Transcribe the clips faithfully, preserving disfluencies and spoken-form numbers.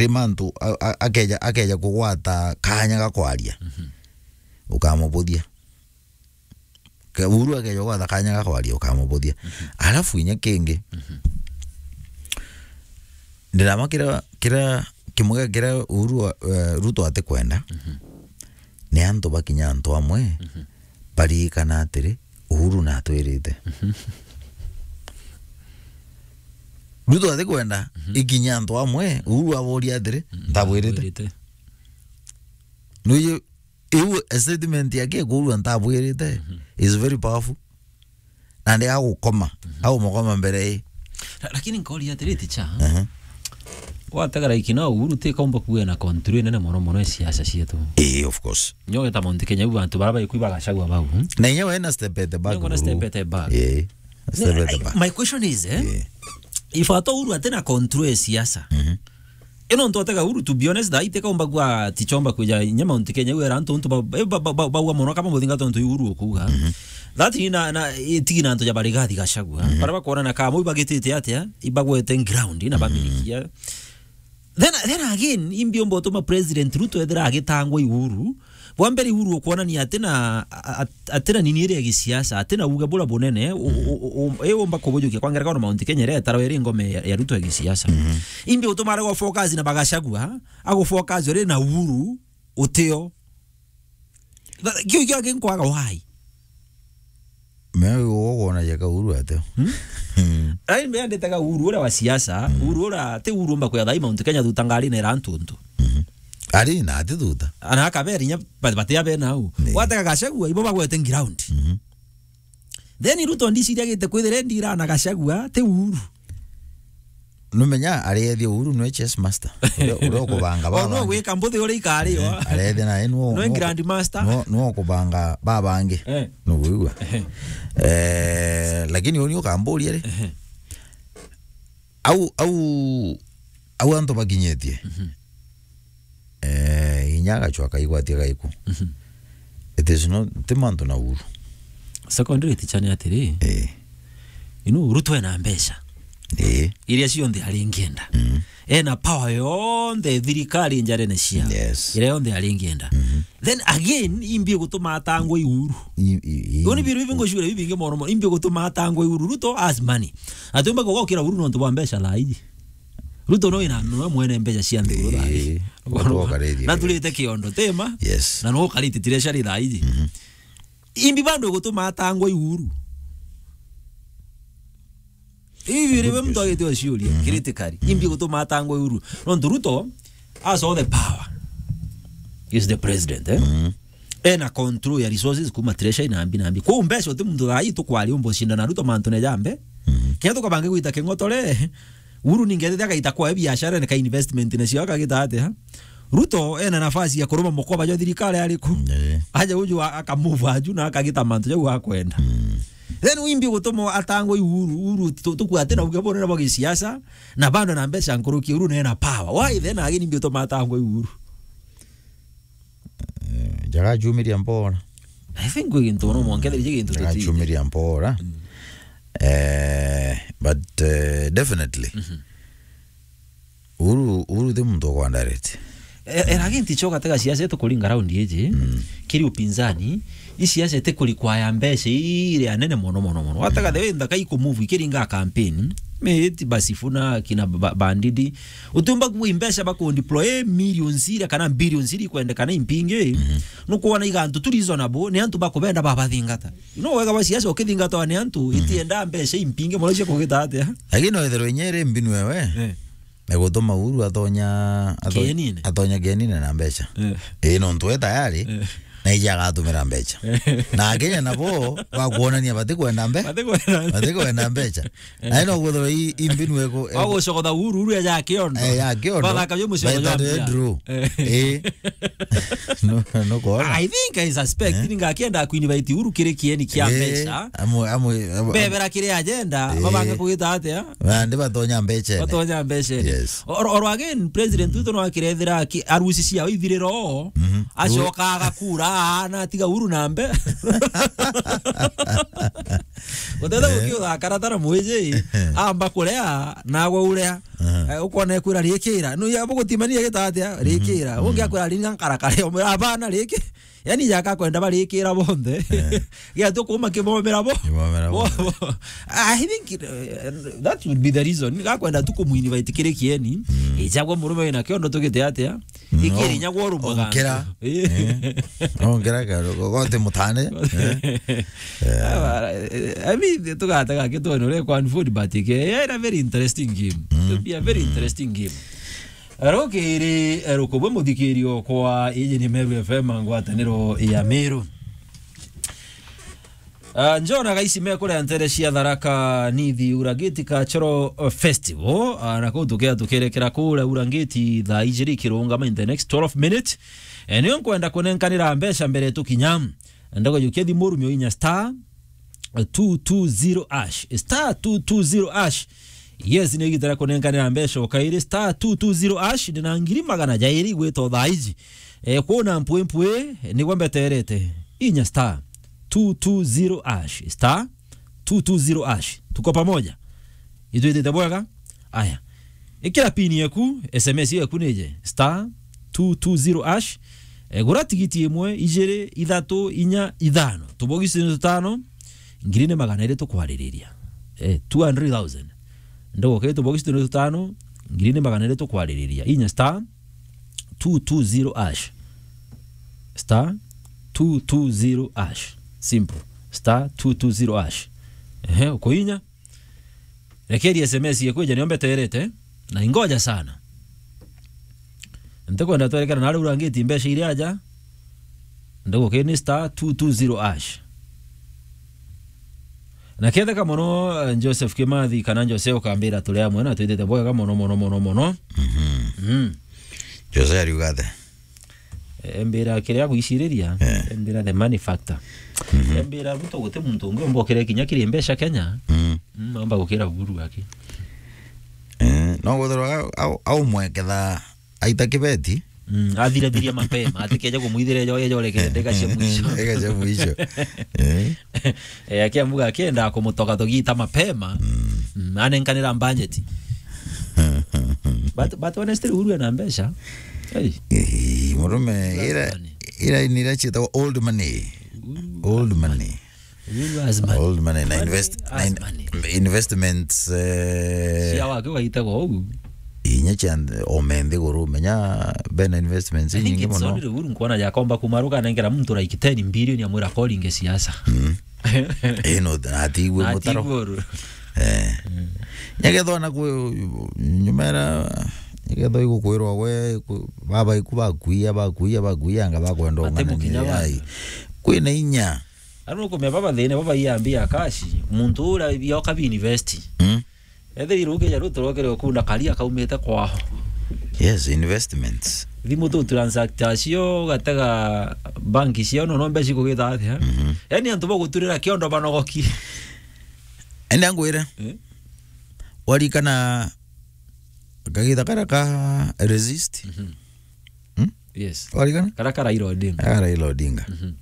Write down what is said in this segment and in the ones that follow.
ri mantu, a-, a-, akeja, akeja kugwata kanya ga kwaria, ukamubuthia. Ke-, Uhuru akeja kugwata kanya ga kwaria, ukamubuthia. Alafu inya kingi, ndirama kira, kira kimwe kiria Uhuru wa-, eh, Ruto atikwenda, ni antu bakinya antu amwe baririkana atiri, Uhuru natwirite. Ruto atikwenda ikinya antu amwe, Uhuru aboria atiri, "Ntabwirite?" Ntabwirite. Nuyu, iu statement yake kurua, "Ntabwirite," is very powerful. Na ndi agukoma, agumukoma mbere i. La-, lakini nkori atiri, ticha. Aha. Watega like now, Uhuru ti kaumba kuwe na control nene mono mono ya siasa cietu. Eh, of course. Nyo geta Mount Kenya, u bantu bara baikwi bagacagua bau, hmm? Na inya we na step at the back, Nyo ngona Uhuru. Step at the back. Eh, step at the back. My question is, eh, if at all Uhuru atina control ya siasa, ino ntu atega Uhuru, to be honest, thaa iti kaumba kuwa tichomba kuja inya Mount Kenya, wera antu untu ba-, ba-, ba-, ba-, bauga mono kama muthinga tontu Uhuru ukuga. That ni na, na, itigi na antu ja bari gathi gacagua. Bara bakwona na kama ibagitite atia, ibagwete ground, na bamirikia. Then, then again, imbi umba utuma President Ruto ethira agitangwa i Uhuru. Bwa mbere, Uhuru ukwonania atina, a-, a-, atina nini iria ya gisiasa, atina uge bura bunene, u-, u-, u-, u-, e umba kubujukia kwa ngerekano Mount Kenya iria etarwa iri ngome ya, ya Ruto ya gisiasa. Imbi utuma arega focus na bagacagua, agu focus uri na Uhuru, utio. Kiu kio kinkwaga why? Me uguo kwona jeka Uhuru ateo. Hmm? Ai, me andetaga Uhuru ura wa siasa, Uhuru ura, ti Uhuru umba kuya thai Mount Kenya thuta ngari na ira antu untu. Ari na ati thuta. Ana akaberi nya, ba-, bati abe nau. Ni. Watega Gachagua, ibo bagwete ground. Then Ruto ndiciria gite kwithire ndira na Gachagua, ti Uhuru. Numenya ariethia Uhuru nwe chess master. Uria, uria ukubanga baba. Ono gwika mbuthi uria ikari yo. Ariethia na enu. Nwe grand master. No, no kubanga baba angi. Eh. No wigua. Eh, lakini uni ukamburia ri. Au, au, au antu bakinyetie. Eh, inya agachwa akaigwatia gaiku. It is not, ti mantu na Uhuru. Secondary teacher ni atiri. Eh. Inu Ruto ena mbeca. Eh. Iria cionthe aringienda. Ena power yonthe thirikari njarene cia. Yes. Iria yonthe aringienda. Then again, imbi gutuma atangwe i Uhuru. I, i, i, Yoni biru ibi ngocura ibi bingi mono mono. Imbi gutuma atangwe i Uhuru. Ruto has money. Atumba kugokira Uhuru nontu bwa mbeca thaa iji. Ruto no ina, no mwene mbeca cia nthiguru thaa iji. Eh, watu wakarithia. Na turite kiondo, tema? Yes. Na no ukarite treasury thaa iji. Imbi bandu gutuma atangwa i Uhuru. Ibi riwe muntu agite ciuria, critically. Imbi gutuma atangwa i Uhuru. Nontu Ruto has all the power. He's the president, eh? Ena control ya resources kuma treasury na mbi na mbi. Kwa mbeca uti muntu thaa iji tukwari umbo shinda na Ruto mantu ne jambe. Kenya tukabange gwita king'otore. Uhuru ningethete agaita kwa biashara na ka investment na cio akagita atia? Ruto ena nafasi ya kuruma mukoba jwa thirikari ariku? Eh. Aja uju a-, akamove aju na akagita mantu jau akwenda. Then wimbi gutuma atangwa i Uhuru, Uhuru tu-, tukua ati na uge bunene bwa gisiasa, na bando na mbeca nkuruki Uhuru na ena power. Why then again imbi utuma atangwa i Uhuru? Eh, njaga ajumiria mbora. I think kwi gintu no mwanke thirije gintu tutiite. Ajumiria mbora. Eh, but, eh, definitely. Uhuru, Uhuru ti muntu ukwa direct. E-, era ginti cho gatega siasa yetu kuringa round iji, kiri upinzani, i siasa iti kuri kwaya mbeca iria nene mono, mono, mono. Watega the way nthaka iku move ikiringa campaign, me iti basi funa kina ba-, bandidi. Utumba kuwa mbeca baku deploy millions iria kana billions iria ikwendekana impingi. Nukwona iga antu tu reasonable, ni antu bakubenda babathingata. You know, wega wa siasa ukithingatwa ni antu, itienda mbeca impingi mono cia kugita atia. Lakini no ithirwe inya iri mbinu ewe, eh, na gutuma Uhuru atonya, ato-, kienine, atonya kienine na mbeca. Eh. Ii, nontu we tayari, eh, na ija agatumira mbeca. Eh. Na Akenya nabo bakwonania batikwenda mbe-, batikwenda mbeca. Batikwenda mbeca. Eh. Na ino guthirwa i, i mbinu ego, ego. Wa gucokotha Uhuru, Uhuru ya kiondo. Eh, ya kiondo. Bathaka jo mucii wa Draw. Eh. Eh. No, no kuona. I think I suspect, eh, ninga akienda kuinvite Uhuru kiri kieni kia, eh, mbeca. Amwe, amwe, amwe, bebera kiri agenda, eh, mabange kugita atia? Na ndi batonya mbeca ene. Batonya mbeca ene. Yes. Or, or again, President Ruto no akirethera ki-, arusi cia ithiriro, acoka agakura, na atiga Uhuru na mbe-. Utete gukiuga karatara mwiji, amba kurea, nawe urea. Eh, ukona ekwira rikira. No ya bugutimania gita atia? Rikira. Ungi akwira ringa nkarakare, omwira, "Abana, riki." Yani, jaka kwenda barikira bonthe. Gia tu kuma kibomera bo. Kibomera bo. Bo, bo. I think, uh, that would be the reason. Gakwenda tu kumu-invite kiri kieni. Ijagwa murume wina kiondo tugite atia? Ikiri inya gwa rumwe. Onkera. Eh. Eh. Onkera ka, gote mutane. Eh. Ah, eh, I mean, tugatega kitwene uria kwa unfold, but ke, yeah, a very interesting game. It'll be a very interesting game. Rukiri, eh, rukubwe muthikirio kwa iji ni Meru F M ngwataniro ya Meru. Ah, njona gaisi mekuria ntere cia Tharaka Nithi Uragiti Cultural Festival, ah, na kuu tukia tukirekera kuria Urangiti thaa ijiri ikirungama in the next twelve minutes. Eh, nio nkwenda kunenkanira mbeca mbere tukinya. Ndago jukia thimu rumio inya star two two zero hash. Star two two zero hash. Yes, ni igita ria kunenkanira mbeca o kairi, star two two zero hash, ndina ngiri magana jairi igwita o thaa iji. Eh, kwona mpwi mpwi, nigwe mbeterete. Inya star two two zero hash. Star two two zero hash. Tuko pamoja. Itwitite bwega? Aya. Ikira pin yeku, S M S yeku nije. Star two two zero hash. Eh, gura tigiti imwe, ijiri, ithatu, inya, ithano. Tubogisi ni tutano, ngiri ni magana iri tukwaririria. Eh, two hundred thousand. Ndogo ke tubogisi ni tutano, ngiri ni magana iri tukwaririria. Inya star two two zero hash. Star two two zero hash. Simple. Star two two zero hash. Ehe, ukuinya. Rekeri S M S yekwija nio mbeterete, na ingoja sana. Ntikwenda twerekana na riu rangiti mbeca iria aja, ndiguke ni star two two zero hash. Na ketheka mono, eh, Joseph Kimathi kana Jose ukambira turi amwe na twitite bwega mono, mono, mono, mono. Mhm. Mm. Jose ariuga atia? Embira kiria gwiciriria, eh, embira the money factor. Mhm. Embira Ruto guti muntu ungi umba ukire kinya kiri mbeca Kenya. Mm. Mm, amba gukira Uhuru aki. Eh, no guthirwa au, au, au mweketha aita kibeti. Mm, athirathiria mapema, atikeje kumwithira ejo, ejo reke ndeka cia mwisho. Ndeka cia mwisho. Eh. Eh, akiamuga akienda kumutoka togita mapema. Mm. Mm, anenkanira budget. But, but honestly, Uhuru ena mbeca. Hey. Eh, murume, ira, ira ni ira cietagwa old money. Uhuru has money. Old money. Old money na invest-, na in-, investments, eh, cia wake ugaitagwo ugu. Inya cia nth-, ome nthiguru, menya bena investments nyingi mono. I think it's only Uhuru nkwona yakomba kumaruka nengera muntu like ten billion amwira koringe siasa. Mm. Eh, no, na atigwe mutaro. Atigwe uru. Eh. Mm. Nyagethwa na kwi-, nyuma era, nyagethwa igukwirwa we, ku-, baba iku bakuia, bakuia, bakuia, anga bakwenda ung'anania. Kwina inya. Anu kumia baba thina, baba iya mbia cash, muntu ura bioka bi invest. Mm. Ethirire ukija Ruto rokere ukunda kari akaumite kwao. Yes, investments. Thimu tu transact cio, ugatega banki cio, no, no mbeca ikugita atia? Mhm. Yani antu baguturira kiondo banogoki. Enda ngwire. Eh? Warikana kagita kara ka resist? Mhm. Hmm? Yes. Warikana? Kara ka Raila Odinga. Ah, Raila Odinga. Mhm.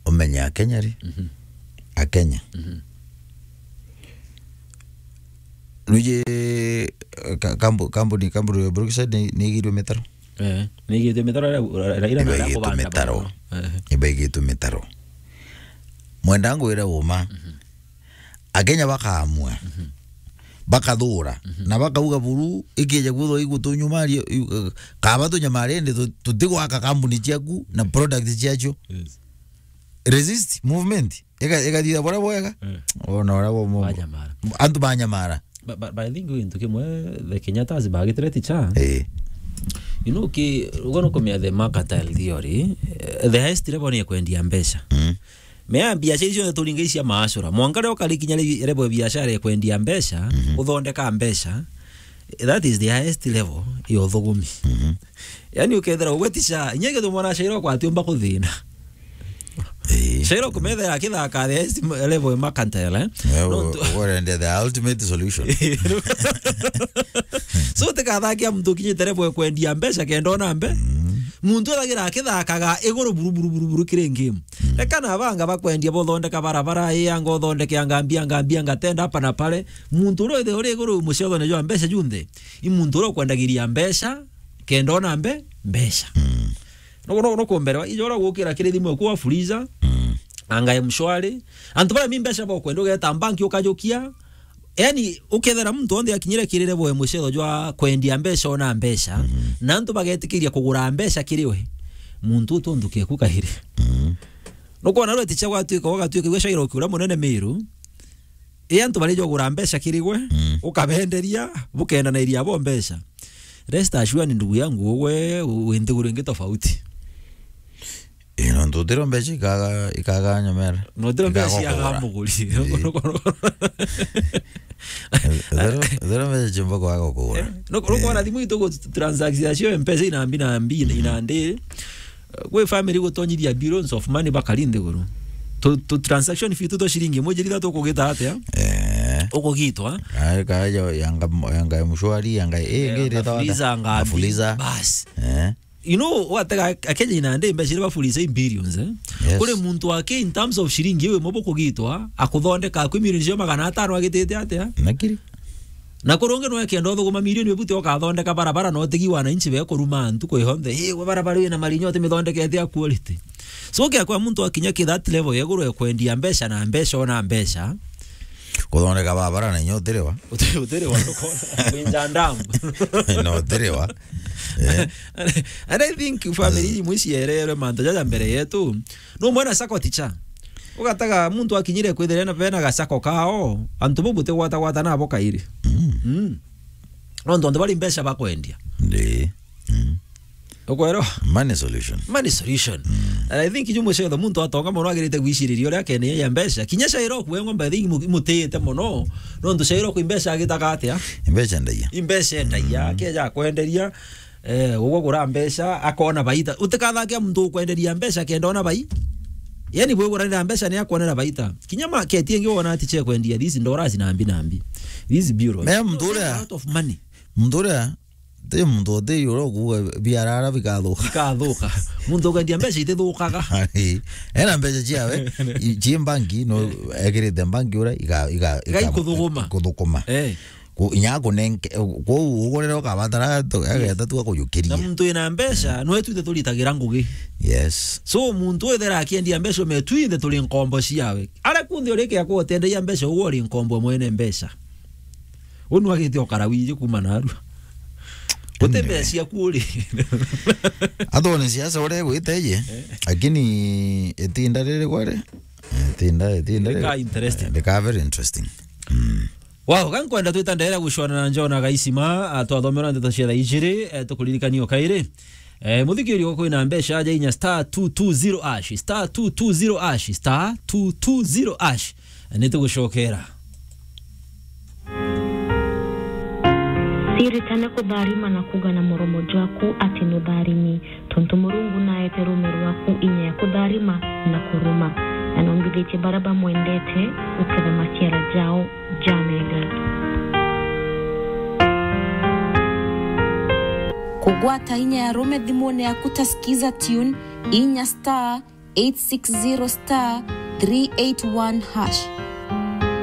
Umenye Akenya ri? Mhm. Akenya. Mhm. Nuje, eh, ka-, kambu-, kambuni, kambuni ya Brookside ni, ni igirwe mitaro? Eh, ni igirwe mitaro, Ra-, Ra-, Raila na ibaigitwe arakubanda mitaro. Mono. Eh. Ibaigitwe mitaro. Mwenda ngwire uma. Mhm. Akenya bakaamua, mhm, bakathura, mhm, na bakauga buru, ikija kwithwa igutunyumaria, i-, kaba tunyamarie ndi tu-, tutigwaka kambuni ciaku na product ciacio. Yes. Resist movement. Ika-, ikathitha buria bwega. Eh. Ona uria bo mo-, banyamara. Antu banyamara. But, but, but I think gintu kimwe, the Kenyattas bagitire ticha. Eh. You know, ki, ugo no kumenya the mercantile theory, eh, the highest level ni ya kwendia mbeca. Mm. Mea biacara icio turinga icia maacura. Mwanka rio kari kinya ri-, level ya biacara ya kwendia mbeca, mhm, uthondeka mbeca, that is the highest level ya uthugumi. Mhm. Yani ukethira ugwe ticha, inya githu mwana shairo kwa atiumba kuthina. Eh. Shairo kumethera akithaka the highest level ya mercantile, eh? Yeah, no, u-, tu- urende the ultimate solution. So, tikathakia muntu kinyite level ya kwendia mbeca kenda ona mbe. Mm. Muntu athagira akithakaga iguru buru, buru, buru, buru kiri game. Reka na banga bakwendia bothondeka barabara, ii anga uthondeke anga mbia, anga mbia, anga tenda hapa na pale. Muntu uria withe uri iguru mucethone jwa mbeca junthe, i muntu uria ukwendagiria mbeca, kenda ona mbe-, mbeca. Mm. No, no, no kumbere, ijo uria gukira kiri thimu eku wa Fuliza, Mm. anga M-Shwari. Antu baria mi mbeca bokwenda ugeta banki ukajukia, yani, ukethera muntu onthe akinyire kirire boe mucetho jwa kwendia mbeca ona mbeca, Mhm. na antu bagetikiria kugura mbeca kiri we, muntu utondu keku kahiri. Mhm. Nukwona rweti cha gwatuika, gwatuika gwe Shairoki uria munene Miru, i antu bari jogura mbeca kiri gwe, Mm. ukabenderia, bukendanairia abo mbeca. Rest assured, ndugu yangu, we wi nthiguru ingi tofauti. Ii, nontu utiro mbeca ikaga, ikaga nyomera. Notiro mbeca Ikaga ciaga kugura. muguri. Ii. Utiro, utiro mbeca ciumba kwaga kugura. Eh, no, no, Ii. kwona thimu itu gu transaction cio mpesa inambi na mbi, Mhm. inandi. Gwi family gutonyithia billions of money bakari nthiguru. Tu, tu transaction fee tu twa shilingi imwe jiri thatu ukugita atia? Eh. Ukugitwa. Ai, kaja yanga, yanga M-Shwari, yanga, eh, Yanga ngiri thawa Fuliza, anga mbi. Fuliza. Bas. Eh. You know, watega Akenya inandi mbeca iria bafuliza i billions, eh? Yes. Kuri muntu ake in terms of shilingi iwe imwe bukugitwa, akuthondeka kwi milioni cia magana atano agitite atia? Nakiri. Na kuri ungi no ekenda uthuguma milioni ibuti ukathondeka barabara na utigi wananchi be kuruma ntuku yonthe. Ii, we barabara ina marinyo utimithondekete a quality. So, kia kwa muntu akinya ki that level ya iguru ya kwendia mbeca na mbeca ona mbeca. Kuthondeka barabara na inya utiriwa. Uti-, utiriwa, nukona. Kwinja ndamu. Na utiriwa. Eh. And, and I think family imwe ciererwe mantu jaja mbere yetu. No mwana sako ticha. Ugataga muntu akinyire kwithira na bena gasako kao, antu bo butigwata gwata nabo kairi. Mm. Mm. Nontu antu bari mbeca bakwendia. Ndi. Mm. Ukwerwa? Money solution. Money solution. Mm. And I think ju mucetho muntu atonga mono agirite gwiciriria uria akene ya mbeca. Kinya Shairoku we ng'ombe, I think mu-, mutite mono. Nontu Shairoku i mbeca agitaga atia? I mbeca ndagia. I mbeca ndagia, Mm. keja akwenderia. Eh, ugwe gura mbeca, akona baita. Utikathake muntu ukwenderia mbeca kenda ona bai-, yani, bwiguranira mbeca ni akwonera baita. Kinya market ingi wona ati che kwendia these dollars na mbi na mbi. These bureaus. Me muntu uria, a lot of money. Muntu uria, ti muntu uti uria ukuga biarara bikathuka. Bikathuka. Muntu ukwendia mbeca itithukaga. Ena mbeca ciawe, i-, ci banki, no, ekirite banki uria, iga-, iga-, Iga iga-, ikuthuguma. Kuthukuma. Eh. Ku-, inya akunenge, kwou ugurire ukabatara tu-, ageta tu akujukirie. Na muntu wina mbeca, nwe twithe turitagira ngugi. Yes. So, muntu withera akiendia mbeca, ume twithe turi nkombo ciawe. Aria kunthe uri kia kuotenderia mbeca, ugwe uri nkombo mwene mbeca. Unu agite ukara wiji kuma narua. Uti Anyway. Mbeca ciaku uri. Athone siasa uria igwite iji, Eh. Lakini itinda riri kwari? Itinda, itinda riri. Rika interesting. Rika very interesting. Mm. Wow, ga nkwenda twita ndere gucwana na John Agaisima, ah, twathomera ndeto cia thaa ijiri, eh, tukuririkania o kairi. Eh, muthikiri uko kwina mbeca aja inya star two two zero hash, star two two zero hash, star two two zero hash. Eh, nitugucokera. Ciritane kutharima na kuga na muromo jwaku ati nutharimi. Tontu Murungu naete ruume rwaku inya ya kutharima na kuruma, na nombithitie baria bamwendete guketha maciara jao ja mega. Kugwata inya ya ruume thimune yaku ta Skiza Tune, inya star eight six zero star three eight one hash.